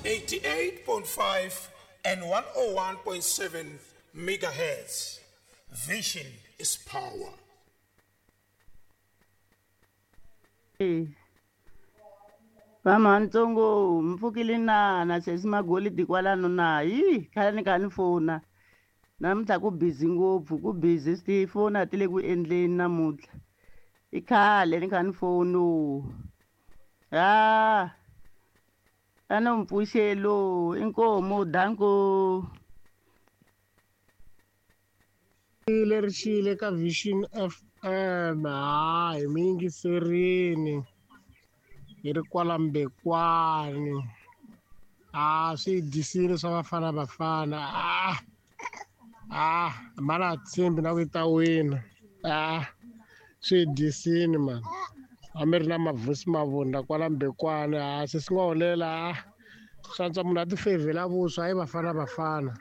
88.5 and 101.7 megahertz. Vision is power. Vamantsongo mpfukile na na sesi Magolidi kwalano na yi khale ni kha ni fona namuntlha ku busy ngopfu ku busy tifoni a ti le ku endleni namuntlha i khale ni kha ni foni ha a no mpfuxelo inkomu danko. Leri xile ka Vision FM ha hi mi yingiserini hi ri kwala Mbekwani a swi dyisile swa Bafana Bafana a a mana tshembi na ku yi ta wina a swi dyisini mani a mi ri na Mavusi Mavunda kwala Mbekwani a se swi nga holela a swantswa munhu a ti fevhela vuswa hayi Bafana Bafana.